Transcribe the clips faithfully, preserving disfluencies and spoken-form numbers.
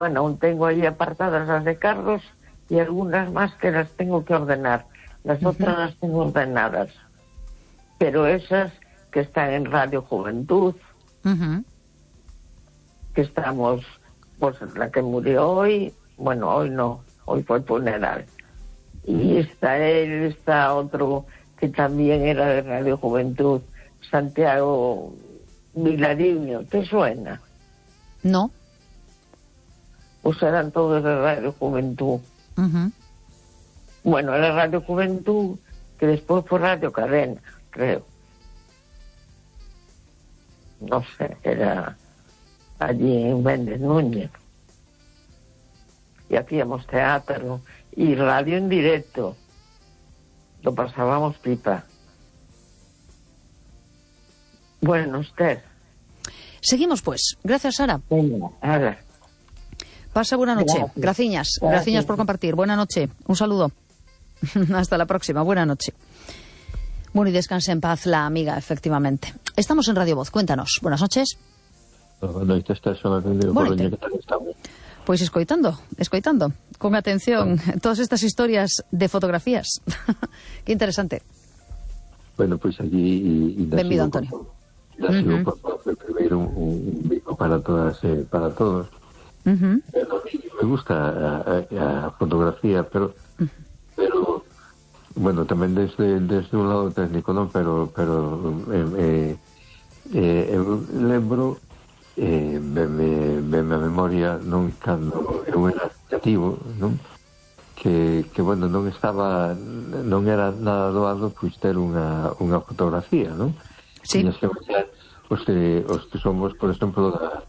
Bueno, aún tengo ahí apartadas las de Carlos y algunas más que las tengo que ordenar. Las uh-huh. otras las tengo ordenadas. Pero esas que están en Radio Juventud, uh-huh. que estamos, pues la que murió hoy, bueno, hoy no, hoy fue funeral. Y está él, está otro que también era de Radio Juventud, Santiago Vilariño, ¿te suena? No. Pues eran todos de Radio Juventud. Uh-huh. Bueno, era Radio Juventud, que después fue Radio Cadena, creo. No sé, era allí en Méndez Núñez. Y hacíamos teatro y radio en directo. Lo pasábamos pipa. Bueno, usted. Seguimos, pues. Gracias, Sara. Venga, ahora. Pasa buena noche. Gracias. Graciñas. Gracias. Graciñas por compartir. Buena noche. Un saludo. Hasta la próxima. Buena noche. Bueno, y descanse en paz la amiga, efectivamente. Estamos en Radio Voz. Cuéntanos. Buenas noches. Boa noite, estás son atendido por que tal estamos. Pois escoitando, escoitando, con atención, ah. todas estas historias de fotografías. Qué interesante. Bueno, pois pues aquí... Benvido, Antonio. Da uh-huh. por favor, primeiro un, un bico para todas e eh, para todos. Uh-huh. Me gusta a, a, a fotografía, pero... Uh-huh. pero bueno, tamén desde, desde un lado técnico, non? Pero, pero eh, eh, eu lembro... Eh, veme, veme a memoria non cando eu era cativo, non? Que, que bueno, non estaba non era nada doado pois ter unha, unha fotografía, non? Sí. Tiñas que baixar os que, os que somos, por exemplo, da,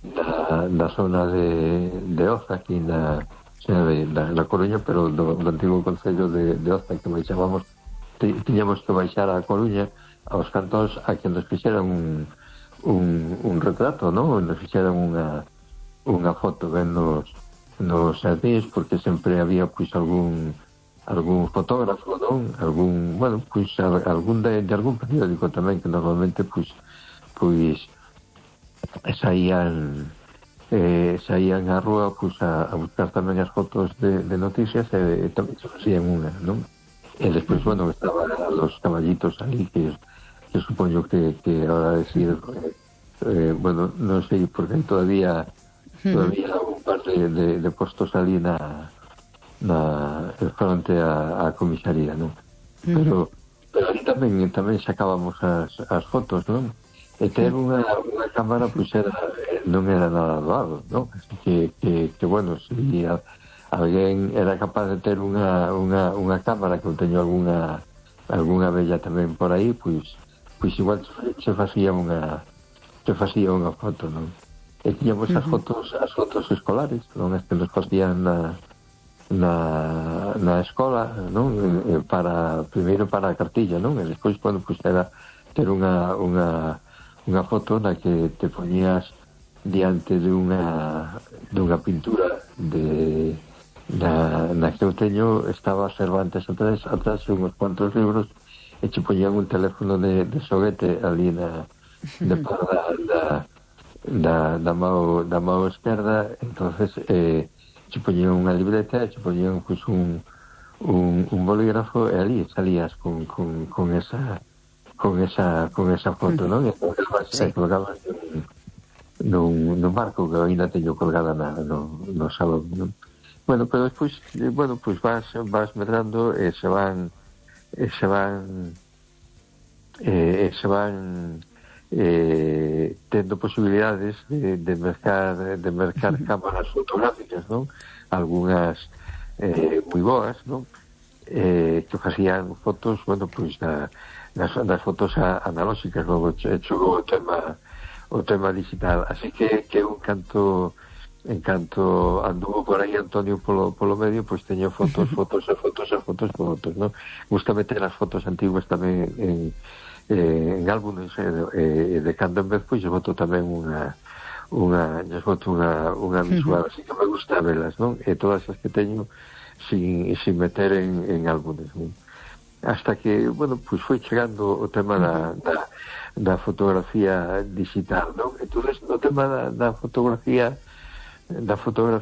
da, da zona de, de Oza, aquí na, de, da, na Coruña, pero do, do antigo concello de, de Oza, que baixábamos, tiñamos que baixar a Coruña aos cantóns a que nos fixeran un Un, un retrato, non? Nos fixeran unha unha foto ben nos, nos jardins, porque sempre había pois algún algún fotógrafo, non? Algún, bueno, pois algún de, de algún periódico tamén que normalmente pois pois saían eh, saían á rúa pois a, a buscar tamén as fotos de, de noticias e, e tamén se facían unha, non? E despois, bueno, estaban los caballitos ali que que supoño que, que ahora decir eh, eh, bueno, non sei porque todavía todavía un par de, de, de postos ali na, na frente a, a comisaría, non? Pero, pero ali tamén tamén sacábamos as, as fotos, non? E ter unha, unha cámara pois era, non era nada doado, non? Así que, que, que bueno, si a, alguén era capaz de ter unha, unha, unha cámara, que eu teño algunha algunha bella tamén por aí, pois pois igual se facía unha se facía unha foto, non? E tiñamos uh-huh. as fotos as fotos escolares, non? As que nos facían na na, na escola, non? E para, primeiro para a cartilla, non? E despois, bueno, pois era ter unha unha unha foto na que te poñías diante de unha dunha pintura de na, na que eu teño, estaba Cervantes atrás, atrás unhos cuantos libros, e che poñían un teléfono de, de xoguete ali na de da, da, da, da mao da mao esquerda. Entonces eh, che poñían unha libreta, che poñían pues, un, un, un bolígrafo, e ali salías con, con, con esa con esa con esa foto, non? E colgabas, sí. colgabas nun, nun marco que ainda teño colgada na, no, no salón, non? Bueno, pero despois, bueno, pues vas, vas medrando e se van e se van e se van eh, tendo posibilidades de, de mercar de mercar cámaras fotográficas, non? Algunhas eh, moi boas, non? Eh, que facían fotos, bueno, pois da, das, das fotos a, analóxicas, logo chegou o tema o tema digital, así que que un canto en canto anduvo por aí Antonio polo, polo medio, pois teño fotos, fotos e fotos e fotos e fotos, non? Gusta meter as fotos antiguas tamén en, eh, en álbumes e eh, de cando en vez, pois boto tamén unha unha, boto unha, unha visual, así que me gusta velas, non? E todas as que teño sin, sin meter en, en álbumes, non? Hasta que, bueno, pois foi chegando o tema da, da, da fotografía digital, non? Entón, no tema da, da fotografía da fotografía